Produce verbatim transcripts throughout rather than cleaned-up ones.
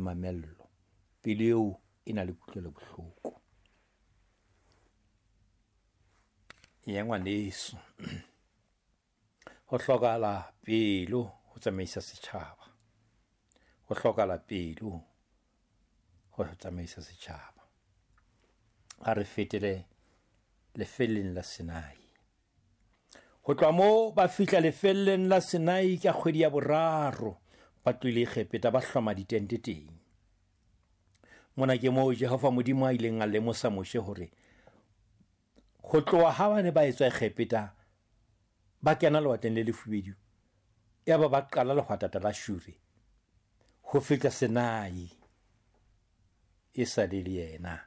mamello, pelo eo e na le kutlwelo bohloko. Ya ngwaneso, ho hlokahala pelo ho tsamaisa setjhaba, ho hlokahala pelo ho tsamaisa setjhaba. Ha re fetele lefelleng la Sinai. Ho tloha moo ba fihla lefelleng la Sinai ka kgwedi ya boraro, ba tlohile Egepeta ba hloma ditente teng. Mona ke moo Jehova Modimo a ileng a lemosa Moshe hore ho tloha ha ba ne ba etswa Egepeta ba kena lewatleng le lefubedu, yaba ba qala lehwatata la Shure ho fihla Sinai, e sa le le yena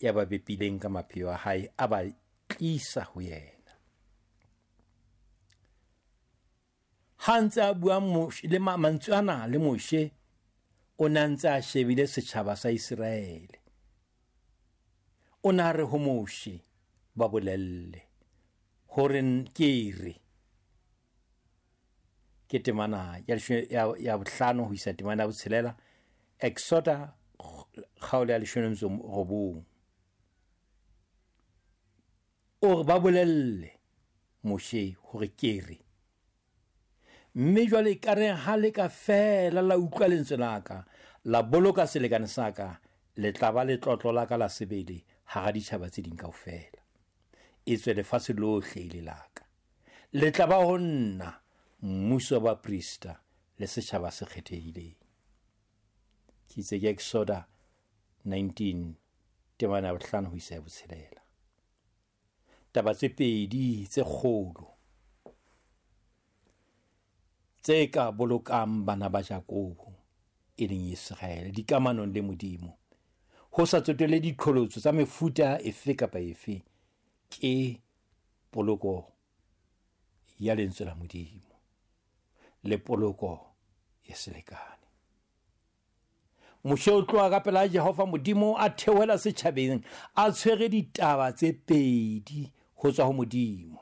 ya ba bepileng ka mapheo a hae, a ba tlisa ho yena. Ha ntse a bua Moshe le mantswe ana le Moshe, o ne a ntse a shebile setjhaba sa Iseraele. O ne a re ho Moshe, ba bolelle hore ke re, ke temana ya ya, ya bohlano ho isa temana ya botshelela, Exoda kgaolo ya leshome le metso robong. O re ba bolelle Moshe hore ke re, mme jwale ka re ha le ka fela la utlwa lentswe la ka, la boloka selekane sa ka, le tla ba letlotlo la ka la sebele hara ditjhaba tse ding kaofela. Etswe lefatshe lohle e le la ka. Le tla ba ho nna mmuso wa baprista le setjhaba se kgethehileng. Ke itse ke Exoda nineteen temana ya bohlano ho isa ya botshelela. Taba tse pedi tse kgolo tse ka bolokang bana ba Jakobo e leng Iseraele dikamanong le Modimo, ho sa tsotelle diqholotso tsa mefuta efe kapa efe, ke poloko ya lentswe la Modimo le poloko ya selekane. Moshe o tloha ka pela Jehova Modimo a theohela setjhabeng a tshwere ditaba tse pedi ho tswa ho Modimo: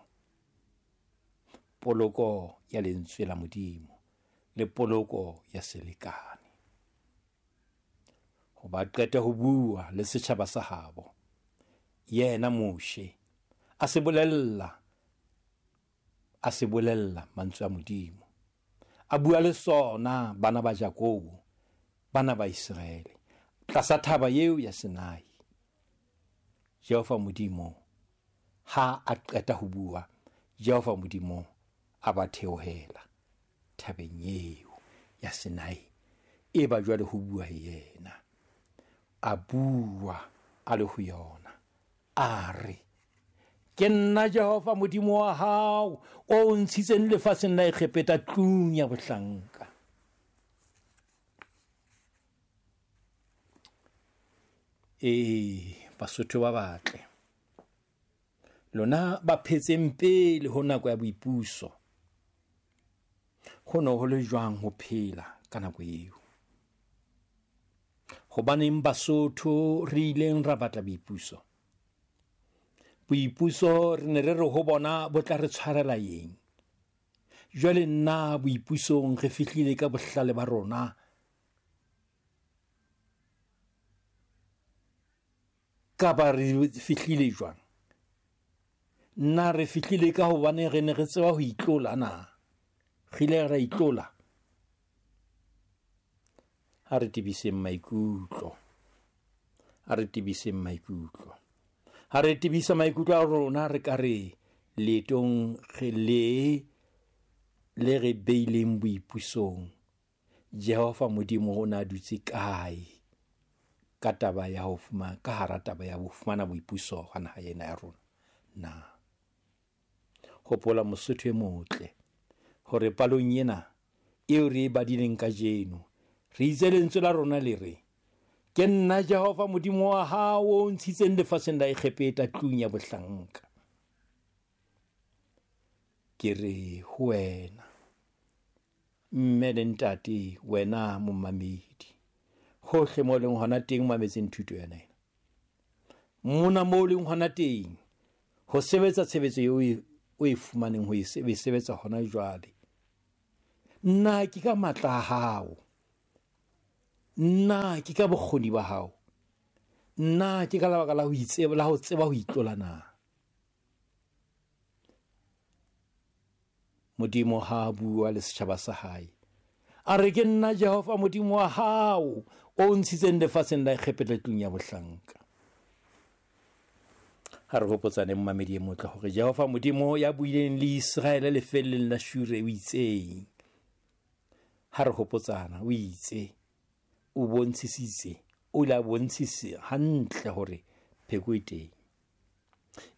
poloko ya lentswe la Modimo le poloko ya selekane. Hoba qete ho bua le setjhaba sa habo, yena Moshe a se bolella a se bolella mantswe a Modimo, a bua le sona bana ba Jakobo, bana ba Iseraele, tlasa thaba eo ya Sinai. Jehova Modimo ha a qeta ho bua, Jehova Modimo a ba theohela thabeng eo ya Sinai, e ba jwale ho bua yena. A bua a le ho yona, a re, ke nna Jehova Modimo wa hao o ntshitseng lefatsheng la Egepeta tlung ya bohlanka. Ee, Basotho ba batle, lona ba phetseng pele ho nako ya boipuso, ho no ho le jwang ho phela ka nako eo? Hobaneng Basotho re ileng ra batla boipuso? Boipuso re ne re re ho bona bo tla re tshwarela eng? Jwale nna boipusong re fihlile ka bohlale ba rona, kapa re fihlile jwang? Nna re fihlile ka hobane re ne re tseba ho itlola na? Re ile ra itlola? Ha re tebiseng maikutlo, ha re tebiseng maikutlo, ha re tebisa maikutlo a rona, re ka re leetong re le le re beileng boipusong, Jehova Modimo o na dutse kae ka taba ya ho fumana, ka hara taba ya ho fumana boipuso ha naha ena ya rona na? Hopola Mosotho e motle hore palong ena eo re e badileng kajeno, re itse lentswe la rona le re, ke nna Jehova Modimo wa hao o ntshitseng lefatsheng la Egepeta tlung ya bohlanka. Ke re ho wena mme le ntate, wena momamedi, hohle mo leng hona teng mametseng thuto yona ena, mona mo leng hona teng ho sebetsa tshebetso eo o e fumaneng ho e sebetsa hona jwale, nna ke ka matla a hao Nna ke ka bokgoni ba hao? Nna ke ka lebaka la ho itseba, la ho tseba ho itlola na? Modimo ha a bua le setjhaba sa hae, a re ke nna Jehova Modimo wa hao o ntshitseng lefatsheng la Egepeta tlung ya bohlanka. Ha re hopotsane mmamedi e motle hore Jehova Modimo ya buileng le Iseraele lefelleng la Shure o itseng. Ha re hopotsana o itse, o bontshisitse, o ile a bontshisa hantle hore pheko e teng.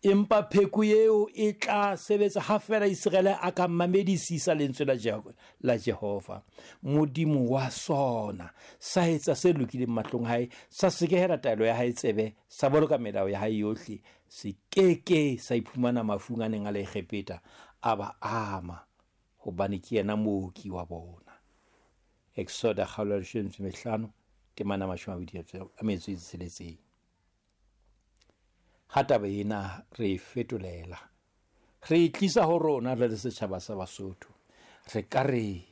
Empa pheko eo e tla sebetsa ha feela Iseraele a ka mamedisisa lentswe la Jehova, la Jehova Modimo wa sona, sa etsa se lokileng mahlong hae, sa sekehela taelo ya hae tsebe, sa boloka melao ya hae yohle, se keke sa iphumana mafung a neng a le Egepeta a ba ama, hobane ke yena mooki wa bona. Exoda kgaolo ya leshome le mehlano temana mashome a mabedi a metso e tsheletseng. Ha taba ena re e fetolela, re e tlisa ho rona re le setjhaba sa Basotho, re ka re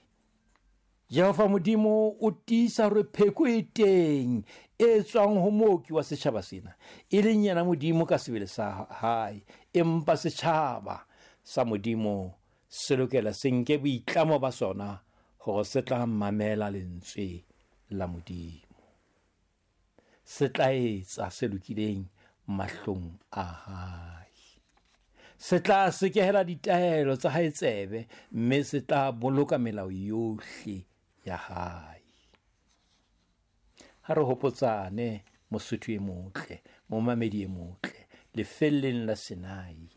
Jehova Modimo o tiisa hore pheko e teng e tswang ho mooki wa setjhaba sena, e leng yena Modimo ka sebele sa hae. Empa setjhaba sa Modimo se lokela se nke boitlamo ba sona hore se tla mamela lentswe la Modimo, se tla etsa se lokileng mahlong a hae, se tla sekehela ditaelo tsa hae tsebe, mme se tla boloka melao yohle ya hae. Ha re hopotsane Mosotho e motle, momamedi e motle, lefelleng la Sinai,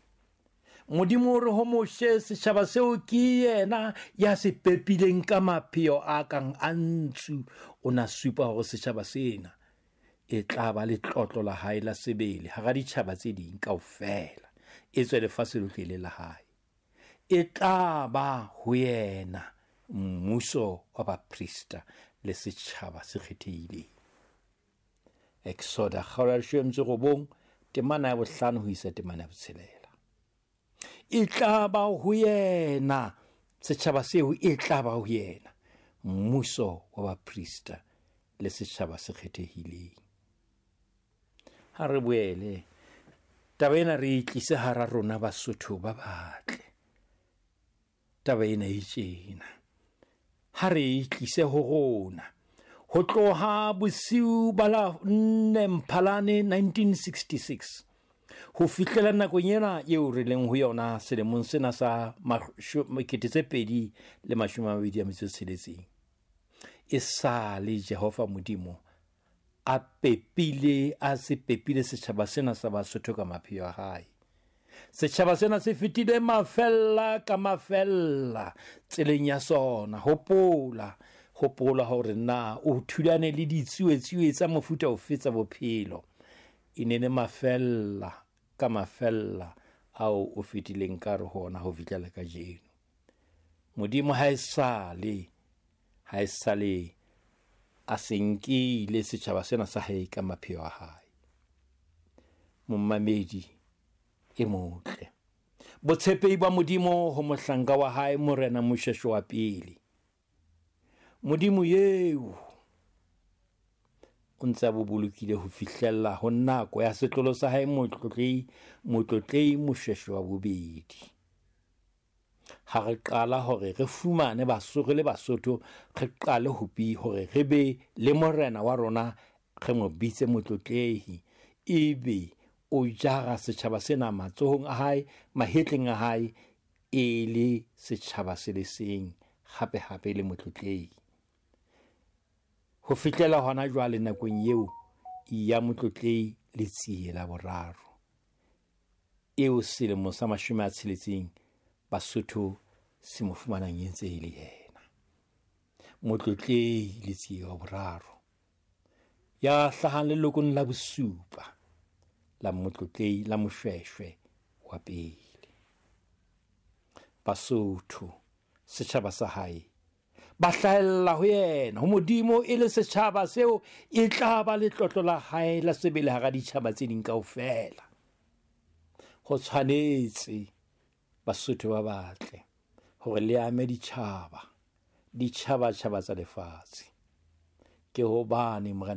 Modimo o re ho Moshe, setjhaba seo ke yena ya se pepileng ka mapheo a kang a ntsu. O na supa hore setjhaba sena e tla ba letlotlo la hae la sebele hara ditjhaba tse ding kaofela, e tswe lefatshe lohle le la hae. E tla ba ho yena mmuso wa baprista le setjhaba se kgethehileng. Exoda kgaolo ya leshome le metso e robong temana ya bohlano ho isa temana ya botshelela. E tla ba ho yena setjhaba seo, e tla ba ho yena mmuso wa baprista le setjhaba se kgethehileng. Ha re boele taba ena re e tlise hara rona Basotho ba batle. Taba ena e tjena, ha re e tlise ho rona ho tloha bosiu ba la nne Mphalane nineteen sixty-six ho fihlela nakong ena eo re leng ho yona selemong sena sa kete tse pedi le mashome a mabedi a metso e tsheletseng. E sale Jehova Modimo a pepile, a se pepile setjhaba sena sa Basotho ka mapheo a hae. Setjhaba sena se fetile mafella ka mafella tseleng ya sona. Hopola, hopola hore na o thulane le ditsuetsuwe tsa mofuta ofe tsa bophelo. E ne le mafella ka mafella ao o fetileng ka re hona ho fihlela kajeno. Modimo ha esale, ha esale a se nkile setjhaba sena sa hae ka mapheo a hae. Momamedi e motle, botshepehi ba Modimo ho mohlanka wa hae Morena Moshoeshoe wa pele. Modimo eo o ntse a bo bolokile ho fihlella ho nako ya setlolo sa hae Motlotlei, Motlotlei Moshoeshoe wa bobedi. Ha re qala hore re fumane Basotho le Basotho, re qale ho bi hore re be le morena wa rona, re mo bitse Motlotlehi, ebe o jara setjhaba sena matsohong a hae, mahetleng a hae, e le setjhaba se le seng, hape hape le Motlotlehi. Ho fihlela hona jwale nakong eo ya Motlotlei Letsie la boraro, eo selemo sa mashome a tsheletseng Basotho se mo fumanang e ntse e le yena Motlotlei Letsie wa boraro, ya hlahang lelokong la bosupa la Motlotlei la Moshoeshoe wa pele. Basotho setjhaba sa hae ba hlahella ho yena, ho Modimo, e le setjhaba seo e tla ba letlotlo la hae la sebele hara ditjhaba tse ding kaofela. Ho tshwanetse Basotho ba batle hore le ame ditjhaba, ditjhaba-tjhaba tsa lefatshe. Ke hobane Morena